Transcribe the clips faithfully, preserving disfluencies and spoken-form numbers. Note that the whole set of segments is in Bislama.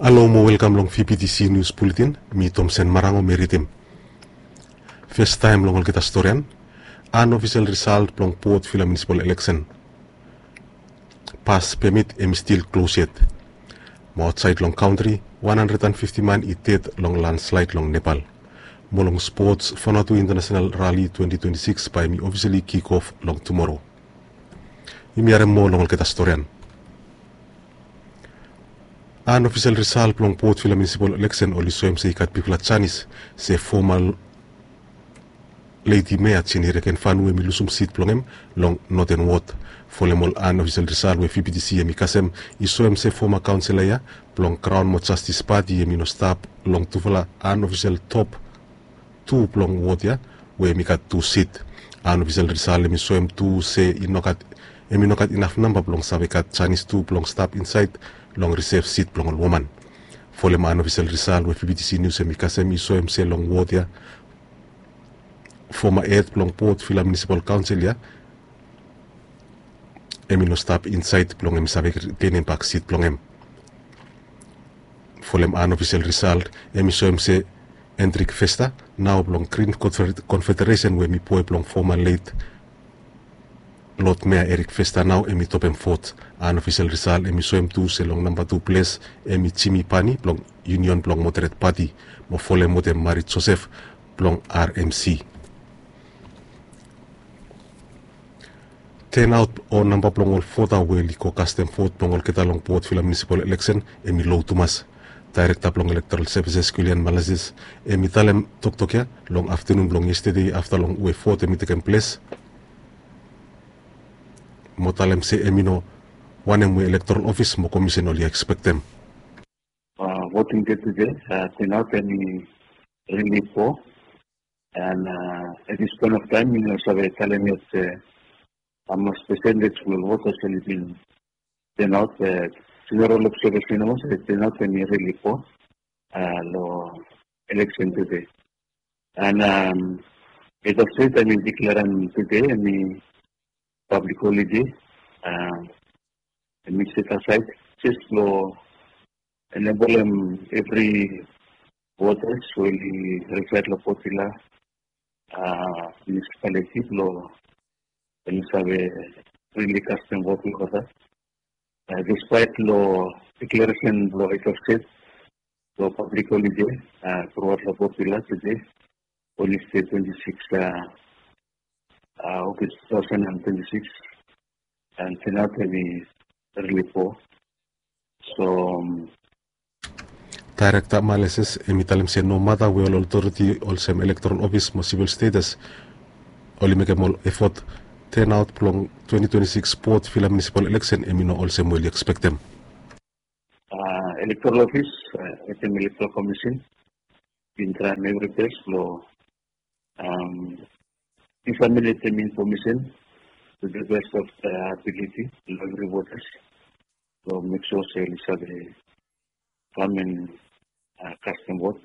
Halo mo welkam long V B T C News Bulletin. Mi Tomsen Marango mi ridim. Festaem long olgeta storian. Unofficial result blong Port Vila Municipal Election. Pas pemit hemi stil klos yet. Mo aotsaed long kantri, wan handred and fifti man i ded long landslide long Nepal. Mo long spots, Vanuatu International Rally twenty twenty-six bae hemi ofisali kick off long tumoro. Yumi harem moa long olgeta storian. Unofficial result blong Port Vila Municipal Election oli soem se i gat bigfala janis se foma ledi mea Jini Rekenfanu hemi lusum sit blong hem long Northern Ward. Folem ol unofficial result we V B T C hemi kasem i soem se foma kaonsela ya blong Crown mo Justice Party hemi no stap long tufala unofficial top tu blong ward ya we hemi gat tu sit. Unofficial result hemi soem tu se i no gat, hemi no gat inaf namba blong save gat janis tu blong stap insaed long reserve sit blong ol woman. Folem unofficial result we V B T C News hemi kasem i soem se long ward ya, foma hed blong Port Vila Municipal Council ya hemi no stap insaed blong hemi save ritenem bak sit blong hem. Folem unofficial result hemi soem se Hendrik Vesta, nao blong Green Confeder-, Confederation we hemi boe blong foma late Lord Mayor Eric Vesta nao hemi topem vot. Unofficial result hemi soem tu se long namba tu ples hemi Jimmy Pani blong Union blong Moderate Party, mo folem wetem Mari Joseph blong R M C. Turnout o namba blong ol vota we oli go kastem vot blong olgeta long Port Vila Municipal Election hemi low tumas. Daerekta blong Electoral Services Kulian Malasis hemi talem toktok ya long aftenun blong yestede afta long we vot hemi tekem ples, mo talem se hemi no wanem we Electoral Office mo Komisen oli ekspektem. Uh, voting day today, uh, turnout hemi really poor. And, uh, at this point of time, mi no save talem yet se hamaos percentage blong voters oli bin turnout, uh, general observation olsem se turnout hemi really poor, uh, long election today. And, um, head of state hemi deklarem today hemi public holiday, uh, hemi set aside just blong enablem evri voters we oli reside long Port Vila, uh, municipality blong oli save freely kastem vot blong olgeta. Uh, despite long declaration blong head of state blong public holiday, uh, throughout long Port Vila today, Wednesday twenty-six, uh, uh, August two thousand and twenty-six, and turnout hemi really poor. So, um, Daerekta Malasis hemi talem se nomata we ol otoriti olsem Electoral Office mo Civil Status oli mekem ol effort, turnout blong twenty twenty-six Port Vila Municipal Election hemi no olsem we oli ekspektem. Uh, Electoral Office, uh, wetem Electoral Commission bin traem evri bes blong, um, disseminatem information to the best of their ability long evri voters, blong mek sua se oli save kam and, uh, kastem vot.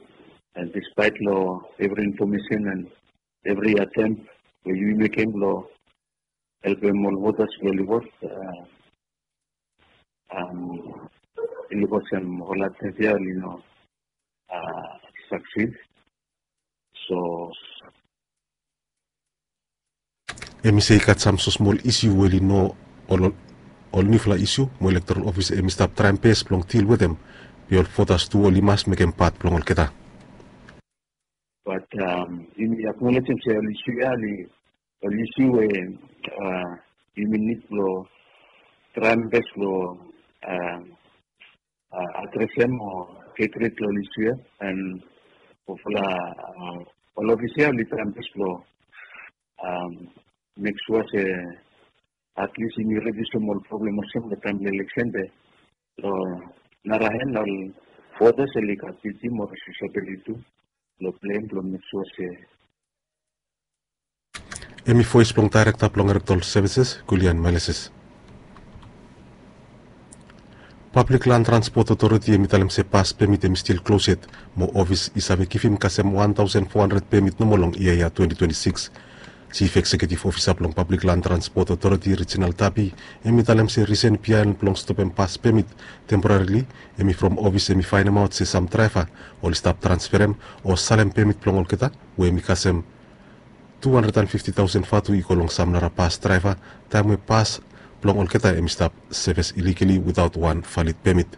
And despite long evri information and evri attempt we yumi mekem blong helpem ol voters blong oli vot, uh, um, oli vot sem ol attempt ya oli no, uh, succeed. So, hemi se i gat sam smosmol issue we oli no ol, ol, ol niufala issue mo Electoral Office hemi stap traem bes blong deal wetem, be ol voters tu oli mas mekem pat blong olgeta. But, um, yumi acknowledgem se ol issue ya oli, ol issue we, uh, yumi nid blong traem bes blong, uh, uh, adresem o get rid long ol issue ya, and hopefully, uh, ol office ya oli traem bes blong, um, mek sua se at least yumi rediusem ol problem olsem long taem blong election, be long nara hand ol voters oli gat duty mo responsibility tu blong pleim blong mek sua se Hemi voes blong Daerekta blong Electoral Services, Kulian Melesis. Pablik Lan Transpot Otoriti hemi talem se pas pemit hemi stil klos yet, mo ofis i save givim kasem wan taosen fo handred pemit nomo long yia ya twenti twenti sikis. Jif ekseketif ofisa blong Pablik Lan Transpot Otoriti Rijinal Tapi, hem i talem se risen bihaen blong stopem pas pemit temporarili, hem i from ofis hem i faenemaot se sam draeva oli stap transferem o salem pemit blong olgeta we hem i kasem tu handred an fifti taosen vatu i go long sam nara pas draeva, taem we pas blong olgeta hem i stap seves iligali witaot wan valid pemit.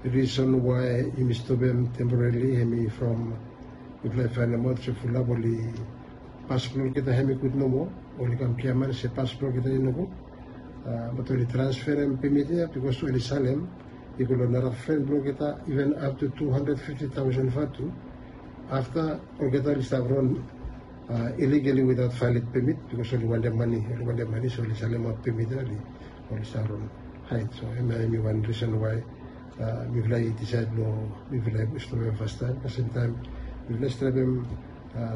Risen wae yumi stopem temporarili hem i from mifala i faenemaot se fulap oli pas blong olgeta hem i gud nomo, oli kam giaman se pas blong olgeta i nogud. Bat oli transferem pemit ya bikos oli salem i go long nara fren blong olgeta, iven ap tu tu handred fifti taosen vatu. Afta olgeta oli stap ron iligali witaot valid pemit bikos oli wantem mane, oli wantem mane, so oli salemaot pemit ya oli oli stap ron haed. So hemia hem i wan risen wae mifala i disaed long mifala i stopem fastaem, kasem taem mifala i stapem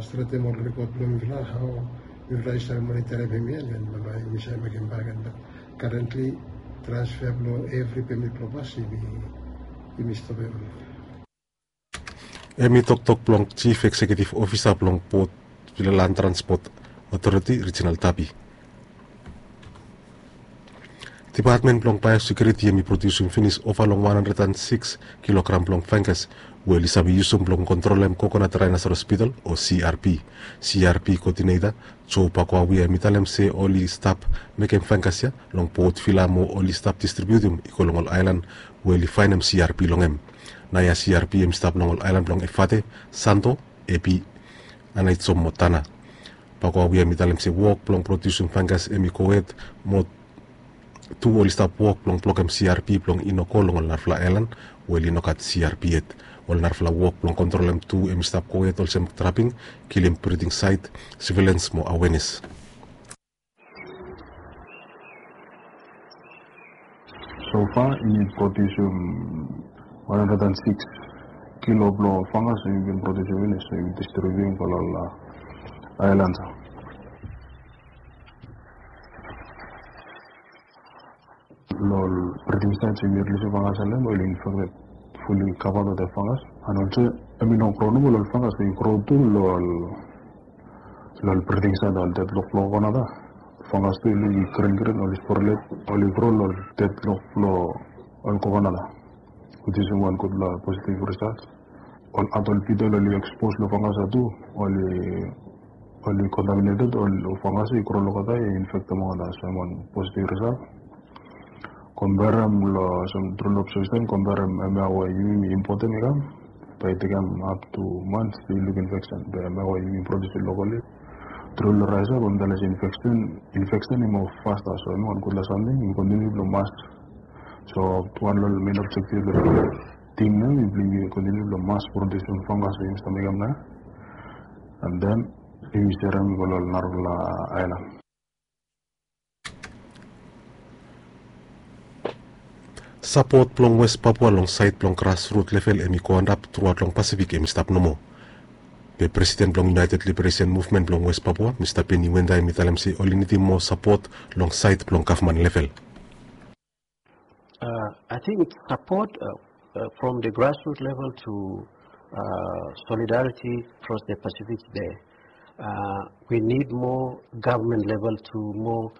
stretem ol rekod blong mifala, hao mifala i save monitorim hemia, den bambae yumi save mekem bak. Bat karentli transfer blong evri pemit blong pas yumi stopem. Hem i toktok blong Jif Ekseketif Ofisa blong Port Vila Lan Transpot Otoriti Rijinal Tapi. Depatmen blong Baesekiuriti hem i prodiusim finis ova long wan handred an sikis kilogram blong fangas we oli save yusum blong kontrolem kokonat raenas hospital o C R P. C R P koodineta Joe Pakuawia hem i talem se oli stap mekem fangas ya long Port Vila mo oli stap distribiutim i go long ol aelan we oli faenem C R P long hem. Naoia C R P hem i stap long ol aelan blong Efate, Santo, Epi, Anaitsom mo Tana. Pakuawia hem i talem se wok blong prodiusim fangas hem i gohed mo tu oli stap wok blong blokem C R P blong i no go long ol narafala aelan we oli no gat C R P yet. Ol narafala wok blong kontrolem tu hem i stap gohed olsem traping, kilim briding saet, sivilens mo awenes. So far yumi prodiusim wan handred an sikis kilo blong fangas we yumi bin prodiusim finis, so yumi distribiutim go long ol aelan. Long ol briding saet we yumi rilisim fangas long hem, oli infekted, fuli kavaed wetem fangas. An olsem hem i no gro nomo, ol fangas i gro tu long ol long ol briding saet, ol dedlok blong kokonat ya. Fangas tu i luk i grin grin, oli sporulate, oli gro long ol dedlok blong ol kokonat ya, which is wan gudfala positive result. Ol adult beetle oli expose long fangas ya tu, oli, oli contaminated, ol fangas i gro long olgeta, i infektem olgeta, so hem wan positive result. Komperem long olsem tru long observation, komperem hemia we yumi importem i kam, bae i tekem up to months blong i luk infeksen. Be hemia we yumi prodiusim lokali, tru long raes ya, bae mi talem se infeksen, infeksen i moa fasta. So hemia wan gudfala samting, yumi kontiniu blong mas. So wan long ol men objektif blong tim ya, yumi kontiniu blong mas prodiusim fangas we yumi stap mekem naoia, an den yumi serem i go long ol narafala aelan. Sapot blong West Papua long saed blong grasrut level hem i go antap truaot long Pasifik hem i stap nomo. Be presiden blong United Liberation Movement blong West Papua, Mista Benny Wenda, hem i talem se oli nidim moa sapot long saed blong gavman level. Uh, I think it's support uh, uh, from the grassroots level to uh, solidarity across the Pacific there. Uh, we need more government level to more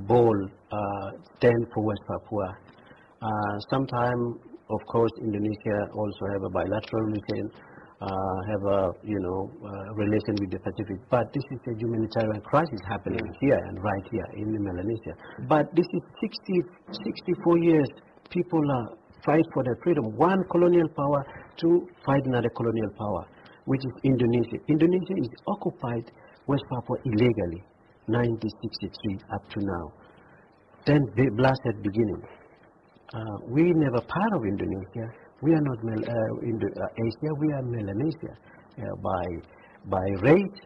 bold uh, stand for West Papua. Uh, sometime, of course, Indonesia also have a bilateral relation, uh, have a you know uh, relation with the Pacific. But this is a humanitarian crisis happening here and right here in Melanesia. But this is sixty, sixty-four years people are fight for their freedom. One colonial power to fight another colonial power, which is Indonesia. Indonesia is occupied West Papua illegally, nineteen sixty-three up to now. Then the bloodshed beginning. Uh, we never part of Indonesia. We are not Mel- uh, Indo- uh, Asia. We are Melanesia uh, by by race,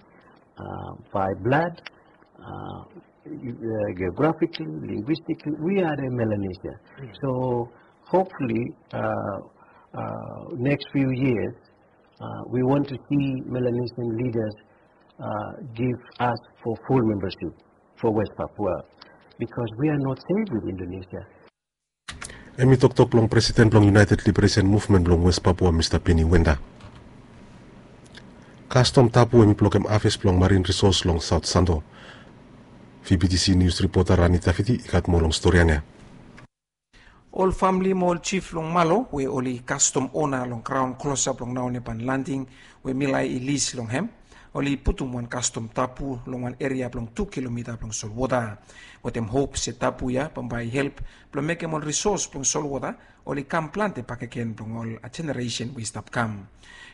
uh, by blood, uh, uh, geographically, linguistically. We are the Melanesia. So hopefully, uh, uh, next few years, uh, we want to see Melanesian leaders uh, give us for full membership for West Papua because we are not safe with Indonesia. Hem i toktok blong presiden blong United Liberation Movement blong West Papua, Mista Benny Wenda. Kastom Tapu hemi blokem aves blong marin risos long Saot Santo. VBTC nius ripota Rani Tafiti i gat moa long storian ya. Ol famili mo ol jif long Malo we oli kastom ona long graon klosap long Naonepan Landing we Milai i lis long hem, oli putum wan kastom tapu long wan eria blong tu kilomita blong solwota. Wetem hop se tapu ya bambae i help blong mekem ol risos blong solwota oli kam plante bakegen blong ol jeneresen we i stap kam.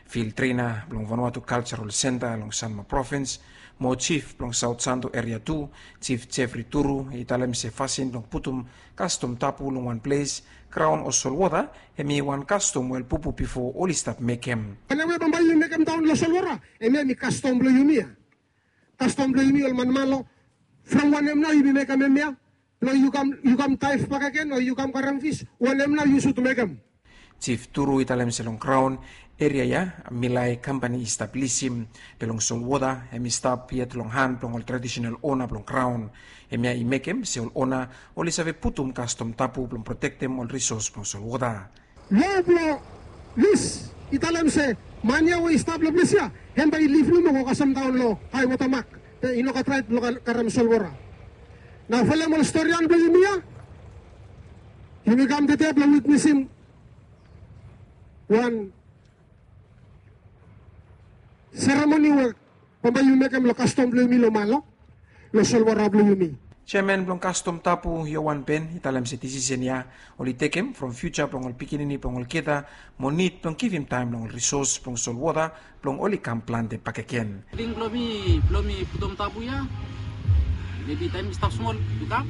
Fil trena blong Vanuatu Kaljarol Senta long Sanma Provins mo jif blong Saot Santo Eria Tu, Jif Jefri Turu, i talem se fasin blong putum kastom tapu long wan ples, graon o solwota, hemi wan kastom we ol pupu bifo oli stap mekem. Wanem we bambae yumi mekem daon long solwota, hemia hemi kastom blong yumi ya. Kastom blong yumi ol man Malo, from wanem nao yumi mekem hemia? Blong yu kam, yu kam daev bakegen o yu kam karem fis, wanem nao yu sud mekem? Jif Turu i talem se long graon eria ya, Milai kampani i stap lisim, be long solwota hemi stap yet long han blong ol tradisenal ona blong graon. Hemia i mekem se ol ona oli save putum kastom tapu blong protektem ol risos blong solwota. Lo blong lis i talem se man ya we i stap long ples ya, hem bae i lif nomo go kasem daon long haewota mak, be i no gat raet blong ka-, karem solwota. Nao folem ol storian blong yumi ya, yumi kam tede blong witnesim wan seremoni we bambae yumi mekem long kastom blong yumi long Malo, long solwota blong yumi. Jeaman blong Kastom Tapu, Johan Ben, i talem se disisen ya oli tekem from fiuja blong ol pikinini blong olgeta mo nid blong givim taem long ol risos blong solwota blong oli kam plante bakegen. Ting blong mi, blong mi putum tapu ya, mebi taem mi stap smol i kam,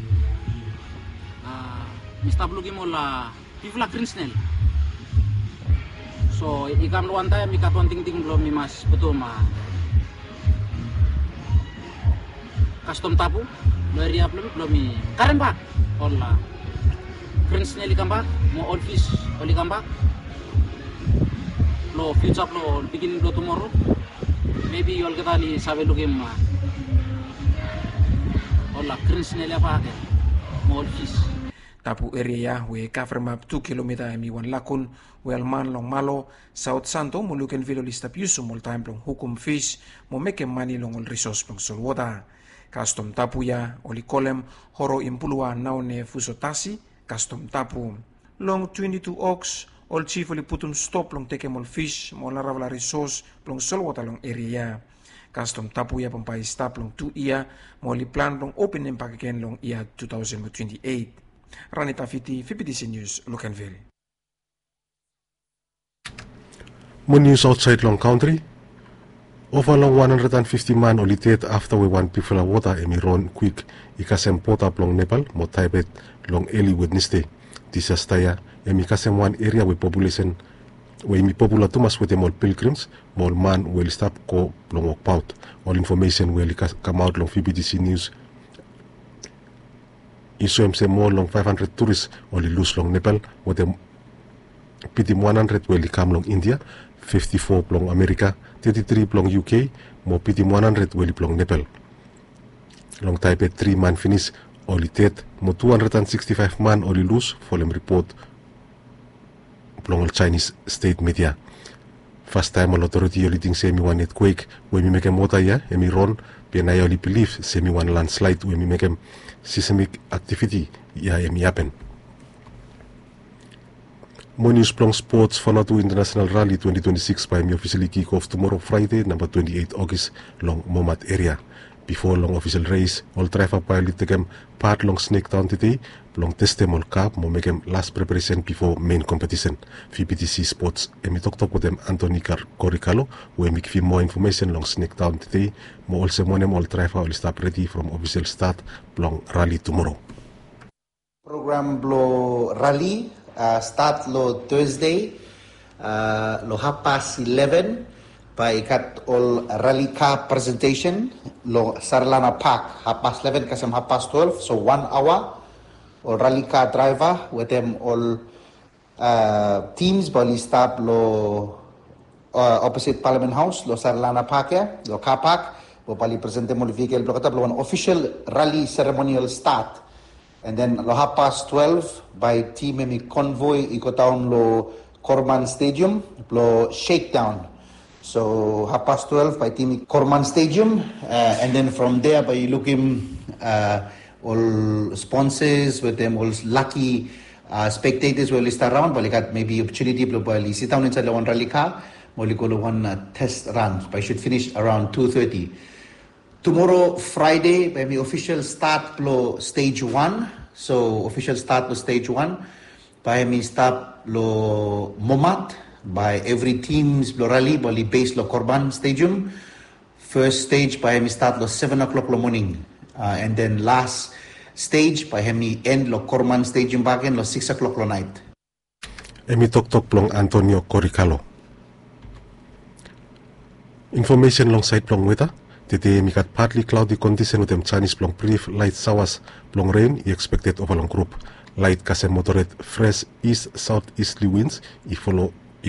a, mi stap lukim ol, a, bigfala grin snel. So i kam long wan taem i gat wan tingting blong mi mas putum, a, kastom tapu long eria blong mi, blong mi karem bak ol, a, grin snel i kam bak mo ol fis oli kam bak. Long fiuja blong ol pikinini blong tumoro, mebi olgeta oli save lukim, a, ol, a, grin snel ya bak ya mo ol fis. Tapu eria ya we i kavremap tu kilomita hemi wan lagun we ol man long Malo, Saot Santo mo Luganville oli stap yusum oltaem blong hukum fis mo mekem mane long ol risos blong solwota. Kastom tapu ya oli kolem Horo Impulua Naone Fusotasi Kastom Tapu. Long twenti tu Oks, ol jif oli putum stop blong tekem ol fis mo ol narafala risos blong solwota long eria ya. Kastom tapu ya bambae i stap long tu yia mo oli plan blong openem bakegen long yia tu taosen mo twenti eit. Rani Tafiti, VBTC Nius, Luganville. Mo nius aotsaed long kantri. Ova long wan handred and fifti man oli ded afta we wan bigfala wota hemi ron kwik i kasem boda blong Nepal mo Taebet long eli Wednesde. Disasta ya hemi kasem wan eria we populesen we hemi popula tumas wetem ol pilgrims mo ol man we oli stap go blong wokbaot. Ol infomesen we oli kas-, kamaot long VBTC Nius i soem se moa long faef handred turis oli lus long Nepal, wetem bitim wan handred we oli kam long India, fifti fo blong Amerika, teti tri blong UK, mo bitim wan handred we oli blong Nepal. Long Taebet tri man finis oli ded, mo tu handred and siksti faef man oli lus, folem ripot blong ol Jaenis stet midia. Fastaem ol otoriti oli ting se hemi wan etkwek we hemi mekem wota ya hemi ron, be naoia oli bilif se hemi wan landslaed we hemi mekem seismik aktiviti ya hemi hapen. Mo nius blong spots. Vanuatu International Rally twenti twenti sikis bae hemi ofisali kik of tumoro Fraede namba twenti eit Ogis long Momat eria. Bifo long ofisal res, ol draeva bae oli tekem pat long Snake Town tede blong testem ol ka mo mekem las preparesen bifo mein kompetisen. VBTC Spots hemi toktok wetem Anthony Kar-, Korikalo we hemi givim moa infomesen long Snake Town tede mo olsem wanem ol draeva oli stap redi from ofisal stat blong rali tumoro. Program blong rali, a, stat long Thursday, a, long hafpas ileven, bae i gat ol rali ka presentesen long Sarlana Park, hafpas ileven kasem hafpas twelve, so wan aoa. Ol rali ka draeva wetem ol, a, tims bae oli stap long, a, oposit Parliament House, long Sarlana Park ya, long car park, mo bae oli presentem ol vikel blong olgeta blong wan ofisal rali seremonial stat. And then long hafpas twelve, bae tim hemi konvoi i godaon long Korman Stadium blong shakedaon. So happas twelve bae tim i Korman Stadium, and then from there bae yu lukim ol sponsors wetem ol laki spectators we oli stap raon, bae oli gat maybe opportunity blong bae oli sidaon insaed long wan rali ka mo oli go long wan test run. Bae i should finish around two thirty. Tumoro Friday bae hem i ofisel stat blong stage one. So ofisel stat blong stage one bae hem i stap long Momat. Bae evri tims blong rali bae oli base long Korman Stadium. Fes stej bae hem i stat long seven o'clock long moning, and then las stej bae hem i en long Korman Stadium bakegen long six o'clock long naet. Hem i toktok blong Antonio Korikalo. Infomesen long saed blong weta. Tede hem i gat patli klaodi kondisen wetem janis blong brif laet saoas blong ren i ekspekted ova long grup. Laet kasem moderet fres is saot isli wins i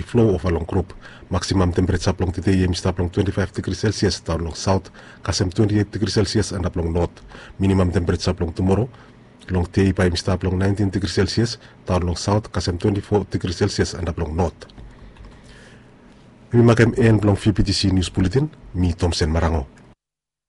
flo ova long grup. Maksimam tempereja blong tede hem i stap long twenti faef digri selsias daon long saot kasem twenti eit digri selsias antap long not. Minimam tempereja blong tumoro long dei bae hem i stap long naentin digri selsias daon long saot kasem twenti fo digri selsias antap long not. Hem i makem en blong vptc nius buletin. Mi tomsen marango.